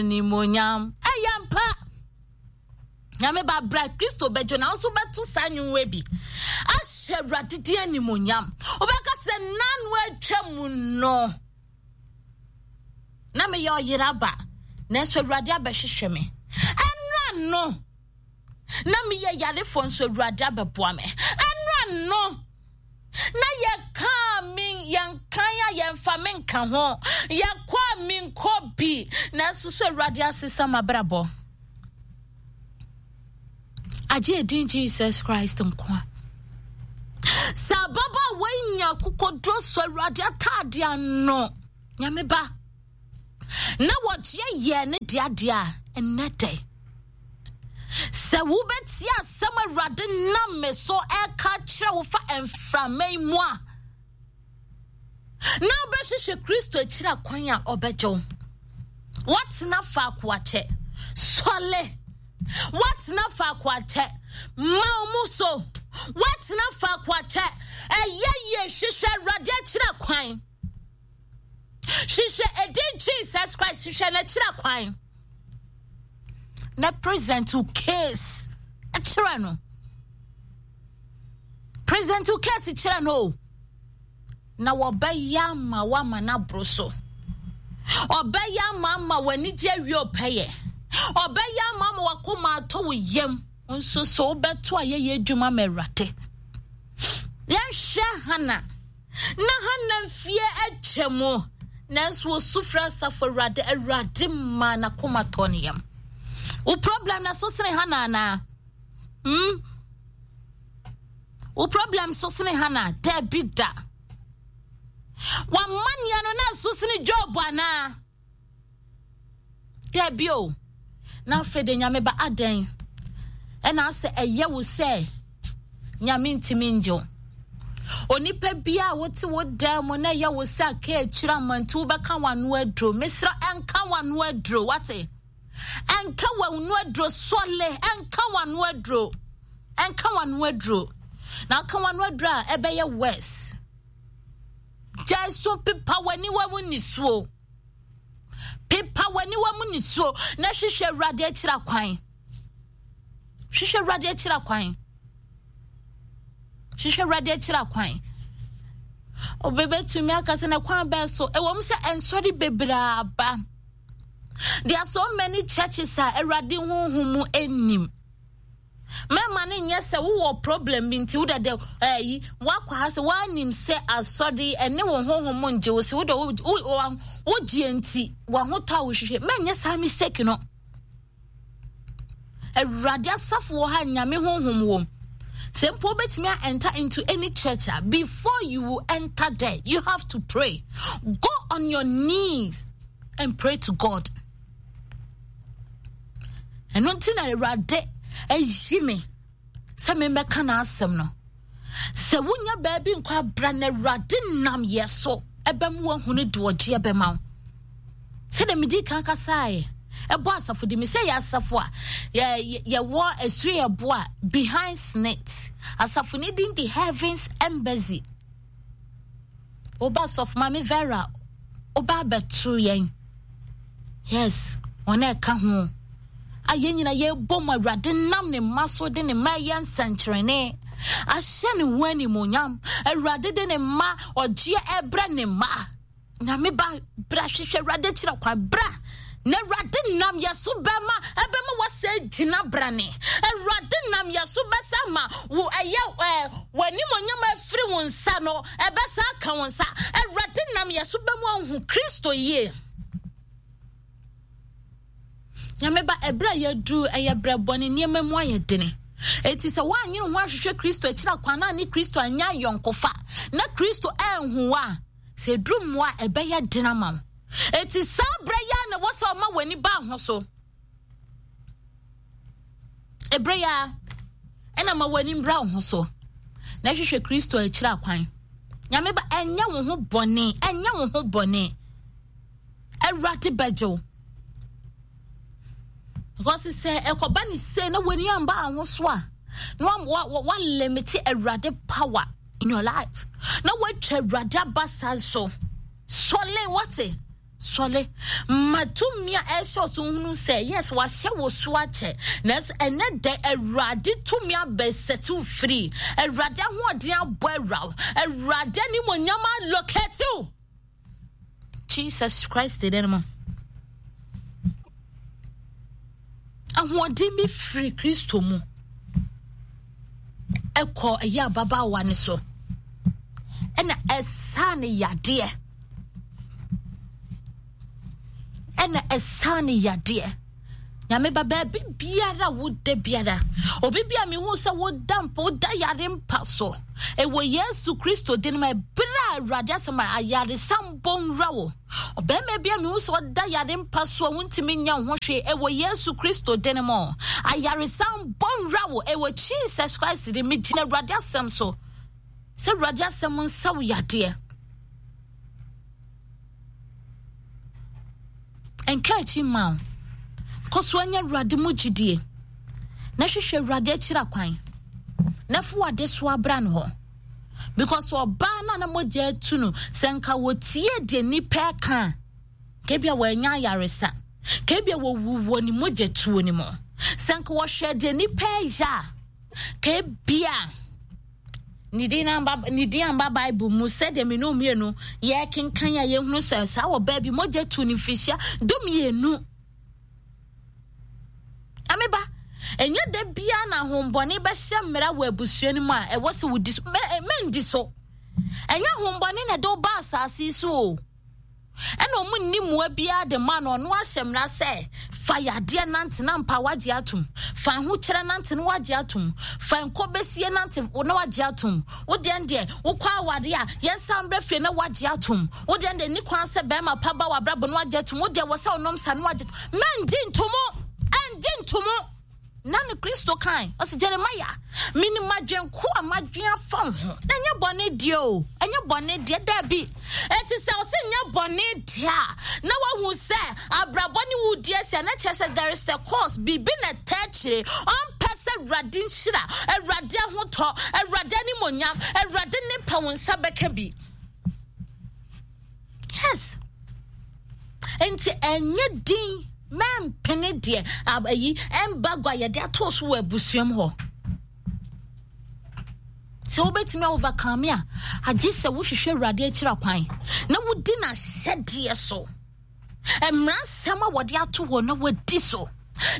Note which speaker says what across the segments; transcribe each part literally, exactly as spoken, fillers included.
Speaker 1: Animonyam. Ɛyɛ mpa. Nyame ba bra Kristo bɛgye na nso bɛto saa nnwom bi ahyɛ Awurade din animonyam. Wobɛka sɛ nano atwa mu no na meyɛ ɔyera ba, nanso Awurade abɛhwehwɛ me. Ɛnora no na meyɛ yarefoɔ, nso Awurade abɛboa me. Ɛnora no na yɛkaa me yɛnkan a yɛmfa me nka ho, yɛkɔ a menkɔ bi, nanso so Awurade asesa m'abrabɔ. Agye edin Jesus Christ nko a. Sɛ ababaawa yi nya akokoduro sɔ Awurade ataade ano, Nyame ba, na wɔgyeɛ yɛɛ ne deɛ adeɛ a, ɛnnɛ dɛ sɛ wobɛtie asɛm Awurade nam me so ɛka kyerɛ wo fa mframa yi mu a, na wobɛhwehwɛ Kristo akyiri akwan a ɔbɛgye wo. Woatena faako akyɛ, sɔle. Woatena faako akyɛ, ma wo mu so. Woatena faako akyɛ, ɛyɛ yie, hwehwɛ Awurade akyiri akwan. Hwehwɛ edin Jesus Christ, hwehwɛ n'akyiri akwan. Na present wo case kyerɛ no. Present wo case kyerɛ no o. Na wɔbɛyɛ ama woama no aboro so. Ɔbɛyɛ ama ama w'anigye awie ɔpɛyɛ. Ɔbɛyɛ ama ama wakoma atɔ wo yam. Nso so wobɛto ayɛyɛ adwuma ma Awurade. Yɛnhwɛ Hana. Na Hana mfie atwa mu, nanso osu frɛ asafo Awurade. Awurade ma n'akoma tɔ ne yam. Wo problem na so sene Hana anaa? Hmm? Wo problem so sene Hana? Dabi da. W'amanneɛ no na so sene Job anaa? Dabi o. Na afei de, Nyame ba, adɛn ɛna asɛ ɛyɛ wo sɛ Nyame ntumi ngye wo? Onipa bia a wote wo dan mu na ɛyɛ wo sɛ aka akyiri amanti wobɛka w'ano aduro, mesrɛ, ɛnka w'ano aduro, wate? Ɛnka w'ano aduro, sɔle, ɛnka w'ano aduro, ɛnka w'ano aduro. Na aka w'ano aduro a, ɛbɛyɛ worse. Gyae so, pepa w'aniwa mu nisuo, pepa w'aniwa mu nisuo na hwehwɛ Awurade akyira kwan. Hwehwɛ Awurade akyira kwan. Hwehwɛ Awurade akyira kwan. Obɛbɛtumi aka sɛ na kwan bɛɛ so ɛwɔ mu sɛ ɛnsɔre bebree aba. There are so many churches a Awurade honhom mu anim. Mɛma no nyɛ sɛ wowɔ problem bi nti wode dɛ ɛyi wakɔ ha sɛ woanim sɛ asɔre ɛne wo honhom ngye wo sɛ wode wogyeɛ nti wahotɔ a wohwehwɛ. Mɛnyɛ saa mistake no. Awurade asafo wɔ ha, Nyame honhom wɔ mu. Sɛ mpo wobɛtumi a enter into any church a, before you will enter there, you have to pray. Go on your knees and pray to God. Ɛno nti na Awurade ayi me sɛ memmɛka n'asɛm no. Sɛ wonya baabi nkɔ abra na Awurade nam yɛ so ɛbɛma woahunu de ɔgye ɛbɛma wo. Sɛdeɛ medi kan kasaeɛ ɛbɔ asafo di me sɛ yɛ asafo a yɛwɔ asue yɛbo a behind snit asafo ne din di Heavens Embassy. Woba sɔfo Maame Vera, woba abɛto yɛn. Yes, wɔn a ɛka ho a yɛn nyina yɛbɔ mu. Awurade nam ne mma so de ne mma ɛyɛ nsɛnkyerɛnne ahyɛ ne ho animonyam. Awurade de ne mma ɔgyeɛ ɛbrɛ ne mma. Nyame ba, bra, hwehwɛ Awurade kyerɛ kwan. Bra na Awurade nam yɛ so bɛma ɛbɛma wɔsɛ gyina brane. Awurade nam yɛ so bɛsa ma wo ɛyɛ ɛɛ w'animonyam afiri wo nsa no ɛbɛsa aka wo nsa. Awurade nam yɛ so bɛmu ahu Kristo yie. Nyame ba, ɛberɛ a yɛduru ɛyɛ berɛ bɔne, nneɛma mu ayɛ dene. Eti sɛ woanyere ho ahwehwɛ Kristo akyiri akwan na ne Kristo anya ayɔnkofa na Kristo anhu a, sɛ ɛduru mmoa a, ɛbɛyɛ den ama wo. Eti saa berɛ yi a na ɛwɔ sɛ ɔma w'ani ba ho so. Ɛberɛ yi a ɛna ma w'ani mbra wo ho so na hwehwɛ Kristo akyiri akwan. Nyame ba, ɛnyɛ wo ho bɔne, ɛnyɛ wo ho bɔne. Awurade bɛgye wo. Because sɛ ɛkɔba ne sei na w'ani amba ho so a, na walimit Awurade power in your life na woatwa Awurade abasa so. Sɔle, wate? Sɔle. Ma tumi a ɛhyɛ so hunu sɛ yes wahyɛ wo so akyɛ. Nanso ɛnɛ dɛ Awurade tumi abɛsɛte wo firi. Awurade ahoɔden abɔ awura wo. Awurade animonyam alokɛte wo. Jesus Christ dɛ no mu. Ahoɔden bi firi Kristo mu ɛkɔ ɛyɛ ababaawa ne so ɛna ɛsaa ne yadeɛ ɛna ɛsaa ne yadeɛ. Nyame ba baabi biara woda biara obi bi a mehu sɛ woda mpa woda yare mpa so ɛwɔ Yesu Kristo din mu ɛberɛ a Awurade asɛm a ayaresa mbɔ nwura wo. Ɔbarima bi a mehu sɛ ɔda yare mpa so a wontumi nya wo ho hwee ɛwɔ Yesu Kristo din mu ayaresa mbɔ nwura wo ɛwɔ Jesus Christ din megyina Awurade asɛm so sɛ Awurade asɛm nsa wo yadeɛ. Nka akyi mma wo. Kɔ so anya Awurade mu gyidie na hwehwɛ Awurade akyira kwan na fa w'adesoa bra no hɔ. Because ɔbaa no a na mogya atu no, sɛ nka wɔtie deɛ nnipa ɛka a, ka ebia wɔanya ayaresa. Ka ebia wɔwu wɔ ne mogya tuo no mu. Sɛ nka wɔhwɛ deɛ nnipa ɛyɛ a, ka ebia ne din amba ne din amba Bible mu sɛdeɛ me ne mmienu yɛkenkan a yɛhunu sɛ saa wɔ baabi mogya tu ne mfirihyia dumienu. Ameba, ɛnyɛ da biara na ahombɔne bɛhyɛ mmara wɔ abusua no mu a ɛwɔ sɛ wodi so. Mɛndi so. Ɛnyɛ ahombɔne na ɛde wo ba asase so o. Ɛna ɔmo nni mmoa biara de ma no, ɔno ahyɛ mmara sɛ fa yadeɛ nante na mpa wagye atom, fa ahokyerɛ nante na wagye atom, fa nkɔbɛsie nante na wagye atom. Wo deɛ deɛ wokɔ aware a yɛnsan brɛ fie na wagye atom. Wo deɛ deɛ ni kwan sɛ bɛrima pa ba w'abrabɔ na wagye atom. Wo deɛ wɔ sɛ ɔnom sa na wagye atom. Mɛngye ntomo, ɛngye ntomo. Na ne Kristo kan ɔsɛ Jeremiah menim adwenko a madwen afa wo ho na ɛnyɛ bɔne deɛ o, ɛnyɛ bɔne deɛ daabi. Ɛti sɛ ɔsɛ nyɛ bɔne deɛ a na wahu sɛ abrabɔ ne wo di asi a na kyerɛ sɛ there is a cause, biribi na ɛtɛ akyire. Ɔmpɛ sɛ Awurade nhyira, Awurade ahotɔ, Awurade animonyam, Awurade ne pɛ wo nsa bɛka bi. Yes. Nti ɛnyɛ din mɛmpene deɛ ayi embargo a yɛde ato so wɔ abusuam hɔ. Sɛ wobɛtumi overcome a, agye sɛ wohwehwɛ Awurade akyira kwan na wodi n'ahyɛdeɛ so. Mmara nsɛm a wɔde ato hɔ na wadi so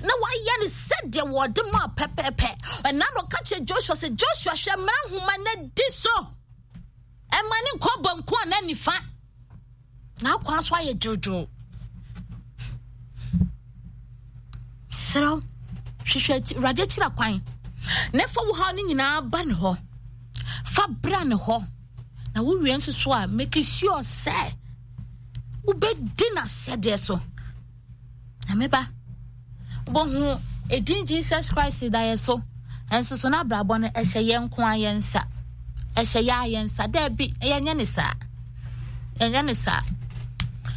Speaker 1: na wayɛ no sɛdeɛ wɔde maa pɛpɛɛpɛ. Ɛna na ɔka kyerɛ Joshua sɛ, Joshua hwɛ mmara nhoma na di so. Ɛma ne nkɔ banku a na nifa. Na akwan so ayɛ dwodwo. Serɛw, hwehwɛ Awurade akyira kwan na fa wo haw no nyinaa ba ne hɔ. Fa bra ne hɔ. Na wowie nso so a, make sure sɛ wobɛdi n'ahyɛdeɛ so. Na meba, wobɛhu edin Jesus Christ da yɛ so. Ɛnso so n'abrabɔ no ɛhyɛ yɛn nko a yɛn nsa. Ɛhyɛ yɛ a yɛn nsa. Daabi, yɛnyɛ ne saa. Yɛnyɛ ne saa.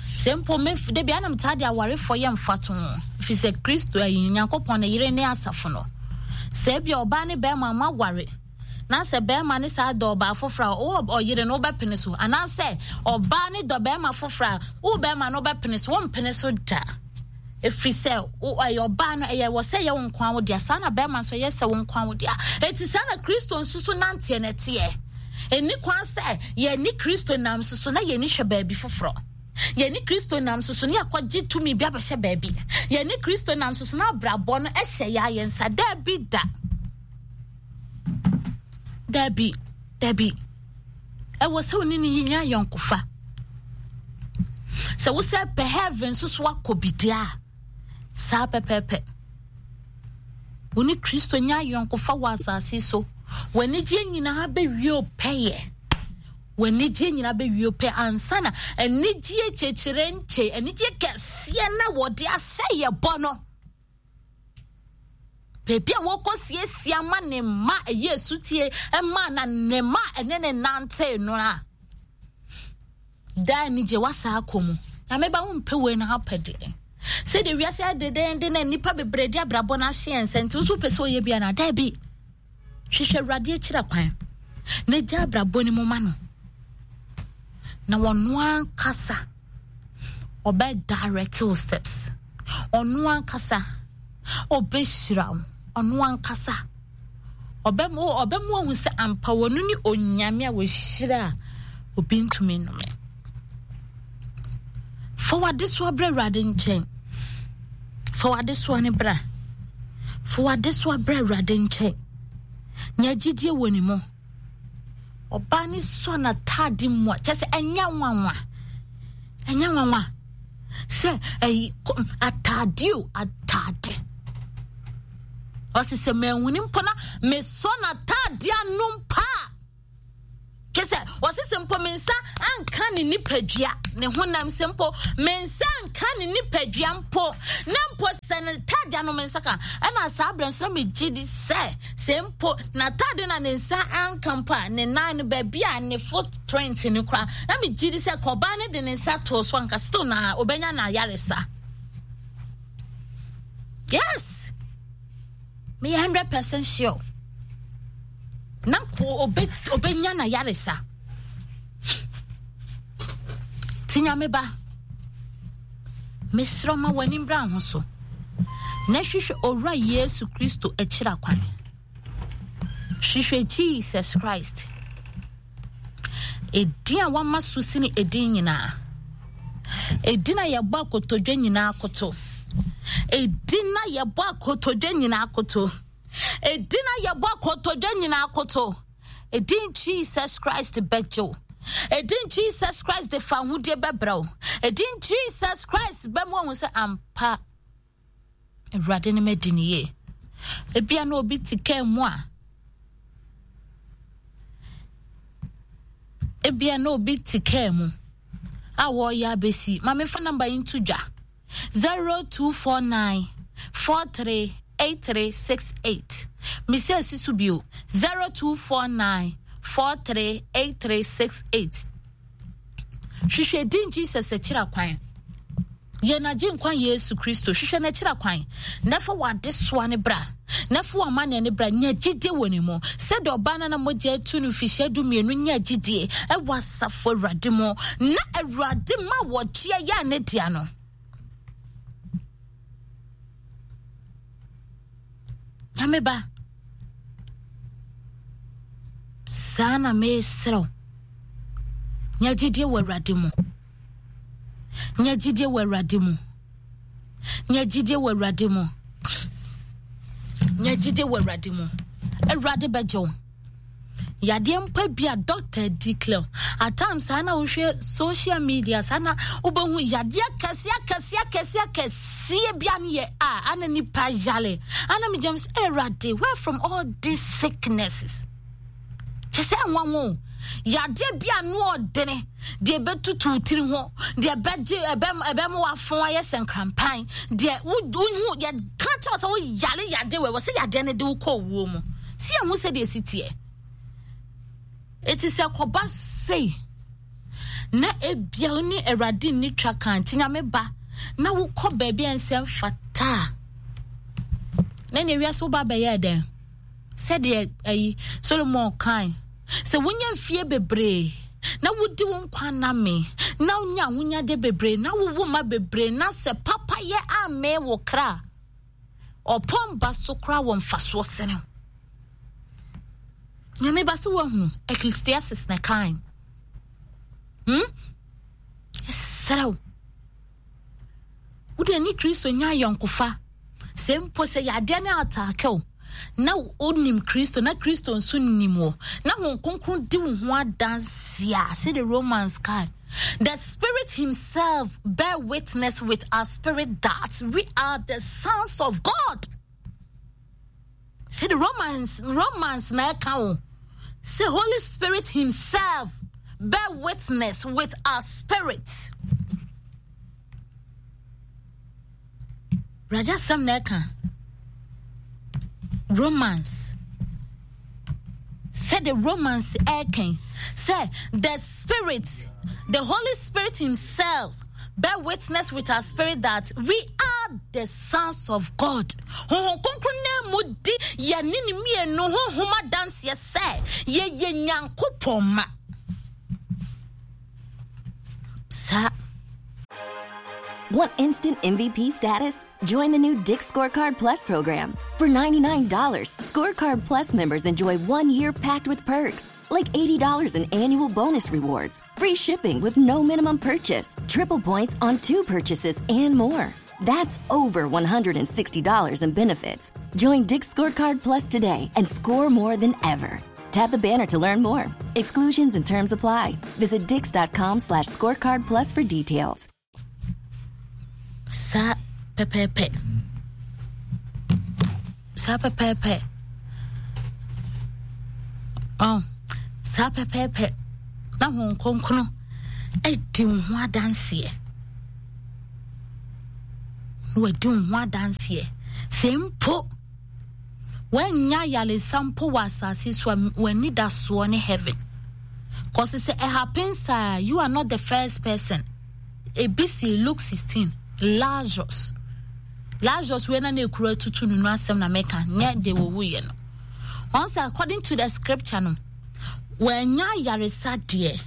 Speaker 1: Sɛ mpo me de bia na metaa de awarefoɔ yɛ mfato ho. Ɛfiri sɛ Kristo ayi Nyankopɔn ne yere ne asafo no. Sɛ ebia ɔbaa ne bɛrima mo aware na sɛ bɛrima ne saa dɔ ɔbaa foforɔ a ɔwɔ ɔyere no wobɛpene so, anaasɛ ɔbaa ne dɔ bɛrima foforɔ a wo bɛrima no wobɛpene so, wompene so da. Ɛfiri sɛ ɛyɛ ɔbaa no ɛyɛ wɔ sɛ ɛyɛ wo nko wo dea, saa na bɛrima nso ɛyɛ sɛ wo nko wo dea. Eti saa na Kristo nso so nanteɛ na ɛteɛ. Ɛni kwan sɛ yɛne Kristo nam so so na yɛni hwɛ baabi foforɔ. Yɛne Kristo nam so so ne yɛakɔgye tumi bi abɛhyɛ baabi. Yɛne Kristo nam so so na abrabɔ no ɛhyɛ yɛ ayɛ nsa. Daabi da. Daabi, daabi. Ɛwɔ sɛ wo ne ne nya yɔnkofa. Sɛ wo sɛ pɛ heaven nso so akɔ bi deɛ a, saa pɛpɛɛpɛ. Wo ne Kristo nya yɔnkofa wɔ asase so. W'anigyeɛ nyinaa bɛwie o pɛyɛ. W'anigyeɛ nyinaa bɛwie o pɛ ansa na anigyeɛ kyekyere nkye, anigyeɛ kɛseɛ na wɔde ahyɛ yɛ bɔ no. Baabi a wɔkɔ siesie ama ne mma ɛyɛ esutie ɛma na ne mma ɛne ne nante no a. Daa anigye wasa akɔ mu. Na meba wo mpɛ wei na apɛ deɛ. Sɛdeɛ wiase adedenden na nnipa bebree de abrabɔ no ahyɛ yɛn nsa nti wo nso wopɛ sɛ ɔyɛ bi anaa? Daabi. Hwehwɛ Awurade akyira kwan na gya abrabɔ no mu ma no. Na wɔno ankasa Ɔbɛ direct wo steps. Ɔno ankasa ɔbɛhyira wo. Ɔno ankasa ɔbɛma ɔbɛma wahu sɛ ampa wɔno ne Onyame a wɔhyira a obi ntumi nnome. Fa w'adesoa brɛ Awurade nkyɛn. Fa w'adesoa no bra. Fa w'adesoa brɛ Awurade nkyɛn. Nya gyidie wɔ ne mu. Ɔbaa no sɔ n'ataade mu a, kyɛ sɛ ɛnyɛ nwanwa. Ɛnyɛ nwanwa sɛ ɛyi ataade o, ataade. Ɔsi sɛ manhuni mpo na mesɔ n'ataade ano mpo a, kyɛ sɛ ɔsi sɛ mpo me nsa anka ne nipadua, ne honam sɛ mpo me nsa anka ne nipadua mpo, na mpo sɛ ne taade ano me nsa ka, ɛna saa berɛ nso na megye di sɛ sɛ mpo n'ataade na ne nsa anka mpo a, ne nan no baabi a ne footprint no kora, na megye di sɛ kɔbaa no de ne nsa too so anka still na obɛnya n'ayaresa. Yes, meyɛ hundred percent sure. Na nko obe obenya na yaresa. Ti Nyame ba, mesrɛ ma w'ani mbra ho so na hwehwɛ Owura Yesu Kristo akyira kwan. Hwehwɛ Jesus Christ. Edin a wama so sene edin nyinaa. Edin a yɛbɔ akotodwe nyinaa koto. Edin a yɛbɔ akotodwe nyinaa koto. Edin a yɛbɔ akotodwe nyinaa koto. Edin Jesus Christ bɛgye wo. Edin Jesus Christ de fa ahodie bɛbrɛ wo. Edin Jesus Christ bɛma wahu sɛ ampa Awurade ne madi ne yie. Ebia na obi te kaa mu a, ebia na obi te kaa mu a wɔreyɛ abɛsi. Ma memfa namba yi nto dwa. zero two four nine four three eight three six eight. Mesi asi so bio. zero two four nine four three eight three six eight. Hwehwɛ din Jesus akyira kwan. Yɛn Agyenkwa Yesu Kristo, hwehwɛ n'akyira kwan, na fa w'adesoa no bra, na fa w'amanneɛ no bra. Nya gyidie wɔ ne mu, sɛdeɛ ɔbaa no na mogya atu no mfihyia du mmienu nya gyidie wɔ asafo Awurade mu, na Awurade ma wɔgyeɛ yɛ ne dea no. Nyame ba, saa na mesrɛ wo, nya gyidie wɔ Awurade mu. Nya gyidie wɔ Awurade mu. Nya gyidie wɔ Awurade mu. Nya gyidie wɔ Awurade mu. Awurade bɛgye wo. Yadeɛ mpa bi a doctor declare. At times saa na wohwɛ social media saa na wobɛhu yadeɛ kɛseɛ kɛseɛ kɛseɛ kɛseɛ bi ano yɛ a ana nipa yale. Ana me gyam sɛ Awurade, where from all these sicknesses? Kyɛ sɛ nwanwa o. Yadeɛ bi ano ɔdene, deɛ ɛbɛtutu wo tiri ho, deɛ ɛbɛgye ɛbɛma wafo ayɛ sɛ nkrampan, deɛ wohu yɛka kyerɛ sɛ woyare yadeɛ wɔ ɛwɔ sɛ yadeɛ no de wo kɔ owuo mu. Si yɛn ho sɛdeɛ ɛsi teɛ. Eti sɛ kɔba sei na ebia wo ne Awurade nni twa kan nti Nyame ba na wokɔ baabi a ɛnsɛ mfata a, na nea wiase woba bɛyɛ dɛn? Sɛdeɛ ayi Solomon kae sɛ wonya mfie bebree na wodi wo nkwa nna me na wonya ahonyade bebree na wowo mma bebree na sɛ papayɛ ammee wo kra ɔpɔn ba so koraa wɔ mfasoɔ sene Nyame ba sɛ woahunu Ecclesiastes na kae. Hmm? Ɛserɛ wo. Wode ne Kristo nya ayɔnkofa. Sɛ mpo sɛ yadeɛ no ataake wo na wonim Kristo na Kristo nso nim wo na Honhom Kronkron di wo ho adanse a, sɛdeɛ Romans kae, the Spirit himself bear witness with our spirit that we are the sons of God. Sɛdeɛ Romans, Romans na ɛka wo sɛ Holy Spirit himself bear witness with our spirit. Raja sɛm na ɛka Romans sɛ the Romans ɛka sɛ the Spirit, the Holy Spirit himself bear witness with our spirit that we are the sons of God. Honhom Kronkron na mu di yɛne ne mmienu honhom adanseɛ sɛ yɛyɛ Nyankopɔn mma. Saa.
Speaker 2: Want instant M V P status? Join the new Dick's Scorecard Plus program. For ninety-nine dollars, Scorecard Plus members enjoy one year packed with perks, like eighty dollars in annual bonus rewards, free shipping with no minimum purchase, triple points on two purchases, and more. That's over one hundred sixty dollars in benefits. Join Dick's Scorecard Plus today and score more than ever. Tap the banner to learn more. Exclusions and terms apply. Visit dicks dot com slash scorecard plus for details.
Speaker 1: Saa pɛpɛɛpɛ, saa pɛpɛɛpɛ, oh, saa pɛpɛɛpɛ na Honhom Kronkron adi wo ho adanseɛ na wadi wo ho adanseɛ sɛ mpo woanya ayaresa mpo wɔ asase so a, w'ani da soɔ ne heaven, 'cause sɛ it happens a, you are not the first person. Ebi si Luke sixteen, Lazarus. Lazarus wei na na ekura tutu no no asɛm na meka, nyɛ de wɔwuyɛ no. Wɔn sɛ according to the scripture no, wɔanya ayaresa deɛ,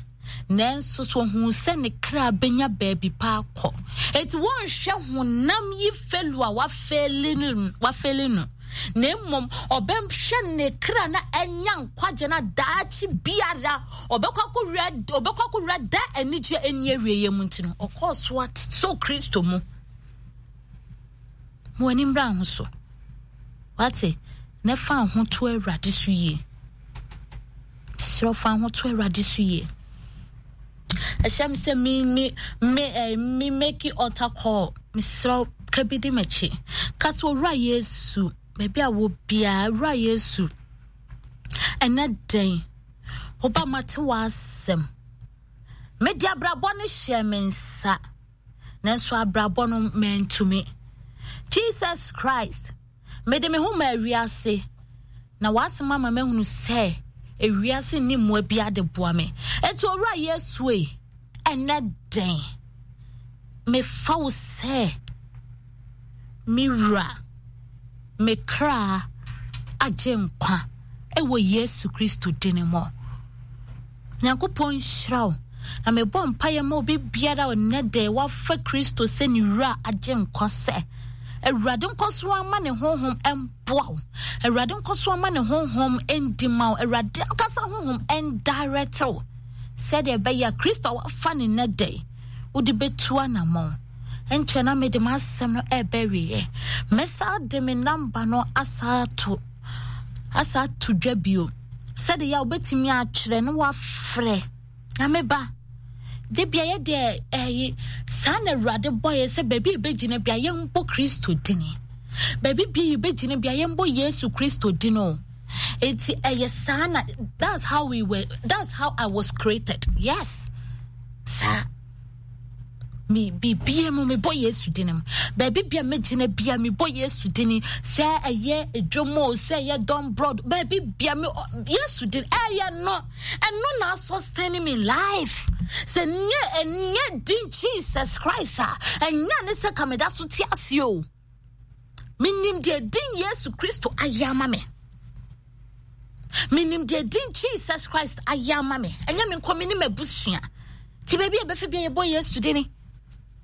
Speaker 1: nanso so ohun sɛ ne kra benya baabi pa akɔ. Eti wɔnhwɛ honam yi fail a wafail no, wafail no, na mmom ɔbɛhwɛ ne kra na ɛnya nkwagye na daakye biara ɔbɛkɔ akɔwura ɔbɛkɔ akɔwura da anigye ani awieɛ mu. Nti no ɔkɔɔ so so Kristo mu. Mo ani mmra ho so, wate, na fa ho to Awurade so yie. Serɛ, fa ho to Awurade so yie. Ɛhyɛ me sɛ me me me eh, me make altar call. Mesrɛ, ka bi di m'akyi. Ka sɛ, "Owura Yesu," baabi a wɔ biara, "Owura Yesu, ɛnɛ dɛn woba mate w'asɛm. Mede abrabɔ no hyɛ me nsa, nanso abrabɔ no mantumi. Jesus Christ, mede me ho ma awiase na w'asɛm ama mahunu sɛ ewiase nni mmoa bi ade boa me. Enti Owura Yesu ei, ɛnɛ dɛn mefa wo sɛ me wura, me kra agye nkwa ɛwɔ Yesu Kristo din mu." Nyankopɔn nhyira wo, na mebɔ mpaeɛ ma obi biara a ɔnnɛ dɛ wafa Kristo sɛ ne wura agye nkwa sɛ Awurade nkɔ so ama ne honhom mboa wo, Awurade nkɔ so ama ne honhom ndi ma wo, Awurade ankasa honhom ndirect wo sɛdeɛ ɛbɛyɛ a Kristo a wafa ne nnɛ dɛ wode bɛtu anammɔn. Nkyɛn na mede m'asɛm no ɛbɛ wieɛ, mɛsa de me number no asa ato asa ato dwa bio sɛdeɛ yɛ a wobɛtumi atwerɛ na wafrɛ. Nyame ba de bia yɛ deɛ ɛyi saa na Awurade bɔ yɛ sɛ baabi yɛbɛgyina bia yɛmbɔ Kristo dini, baabi bia yɛbɛgyina bia yɛmbɔ Yesu Kristo dini o. Eti ɛyɛ saa na that's how we were, that's how I was created. Yes, saa me bibia mu mebɔ Yesu din mu. Baabi bia megyina bia mebɔ Yesu din, sɛ ɛyɛ edwom o, sɛ ɛyɛ dɔm broad, baabi bia me Yesu din ɛyɛ no, ɛno na sustain me life. Sɛ nyɛ ɛnyɛ din Jesus Christ a, ɛnyɛ ne sɛ kameda so te ase o. Menim deɛ din Yesu Kristo ayɛ ama me. Menim deɛ din Jesus Christ ayɛ ama me. Ɛnyɛ me nkɔ, me ne m'abusua. Nti baabi a ɛbɛfɛ bia yɛbɔ Yesu dini,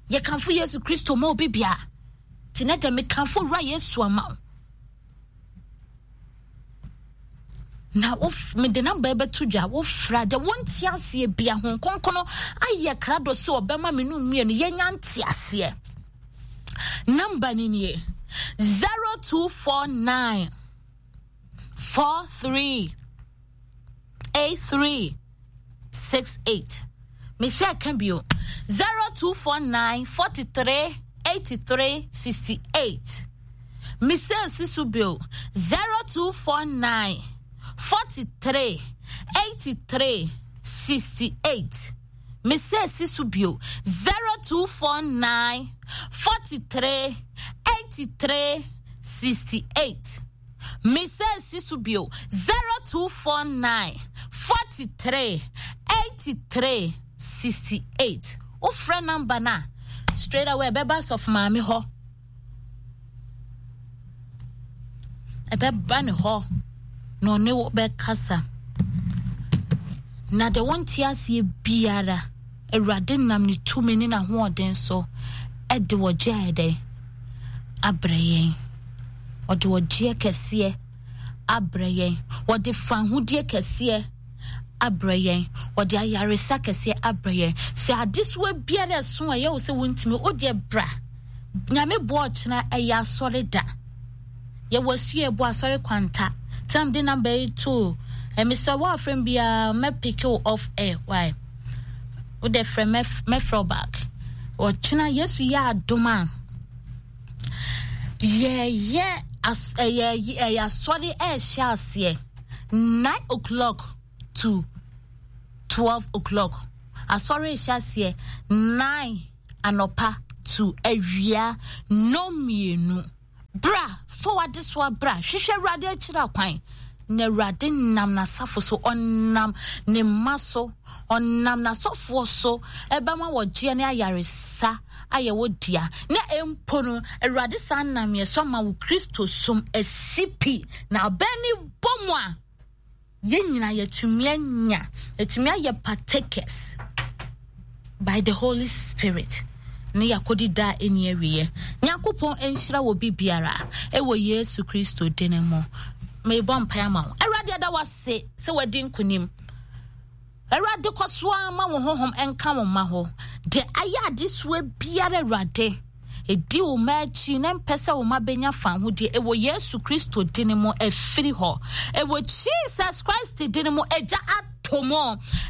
Speaker 1: yɛkamfo Yesu Kristo ma obi bia. Nti na dɛ mekamfo Wura Yesu ama wo na mede number bɛto dwa. Wofra deɛ wonte aseɛ bia ho nkonkono ayɛ krado sɛ ɔbɛma me no mmienu yɛnya nte aseɛ. Number ni nie: zero two four nine four three eight three six eight. Mesi aka bio: zero two four nine forty-three eighty-three sixty-eight. Mesi nsi so bio: zero two four nine forty-three eighty-three sixty-eight. Mesi esi so bio: zero two four nine forty-three eighty-three sixty-eight. Mesi esi so bio: zero two four nine forty-three eighty-three sixty-eight. Wofrɛ number na straight away ɛbɛba sɔfo maame hɔ, ɛbɛba ne hɔ na ɔne wo bɛkasa. Na deɛ wɔnte aseɛ biara, Awurade nam ne tumi ne n'ahoɔden so. Ɛde wɔgye ayɛ dɛn abrɛ yɛn. Ɔde ɔgyeɛ kɛseɛ abrɛ yɛn. Wɔde fahodie kɛseɛ abrɛ yɛn. Wɔde ayaresa kɛseɛ abrɛ yɛn. Sɛ adesoa biara ɛso a ɛyɛ wo sɛ wontumi, wodeɛ bra. Nyame boa ɔkyena ɛyɛ asɔre da. Yɛwɔ asua ɛbɔ asɔre kwanta. Tam de number yi to. Ɛmi sɛ wɔafrɛ m biara mɛpick wo off air. Why? Wode frɛ mɛfrɛ wo back. Ɔkyena Yesu yɛ adom a yɛyɛ as ɛyɛ ɛyɛ asɔre ɛɛhyɛ aseɛ nine o'clock to twelve o'clock. Asɔre ɛhyɛ aseɛ nine anɔpa to awia nnɔmmienu. Bra, fa w'adesoa bra, hwehwɛ Awurade akyiri akwan. Na Awurade nam n'asafo so, ɔnam ne mma so, ɔnam n'asɔfoɔ so, ɛbɛma wɔgyeɛ ne ayaresa ayɛ wo dea. Na mpo no, Awurade saa nam yɛ so ama wo Kristo som asi pi. Na abɛn ne bɔ mu a, yɛn nyinaa yɛtumi anya, yɛtumi ayɛ partakers by the Holy Spirit. Ne yɛakɔdi da a ɛnni awieɛ. Nyankopɔn nhyira wɔ bi biara ɛwɔ Yesu Kristo din mu. Merebɔ mpae ama wo. Awurade, ɛda wase sɛ wadi nkonim. Awurade, kɔ so ara ma wo honhom nka wo mma ho. Deɛ ayɛ adesoa biara, Awurade, ɛdi wo mma akyi na mpɛ sɛ wo mma bɛnya fahodie ɛwɔ Yesu Kristo din mu, ɛfiri hɔ. Ɛwɔ Jesus Christ din mu, agya atɔ mu.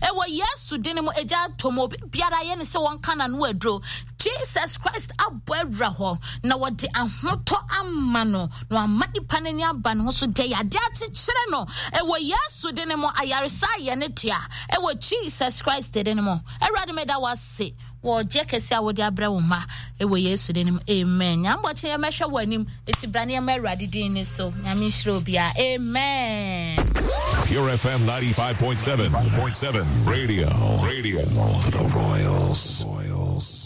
Speaker 1: Ɛwɔ Yesu din mu, agya atɔ mu. Obi biara yɛ ne sɛ wɔnka n'ano aduro. Jesus Christ abɔ awura hɔ na wɔde ahotɔ ama no na wama nipa n'ani aba ne ho so. Deɛ yɛade akyekyere no, ɛwɔ Yesu din mu, ayaresa ayɛ ne dea. Ɛwɔ Jesus Christ din mu. Awurade, meda wase wɔ ɔgye kɛse a wode abrɛ wo mma ɛwɔ Yesu din mu. Amen. Nyame bɔkye yɛmɛhwɛ wɔ anim. Ɛti bra ne yɛma Awurade din ni so. Nyame nhyira obiara. Amen.
Speaker 3: Pure F M ninety-five point seven. point seven. Radio. Radio. For the Royals. Royals.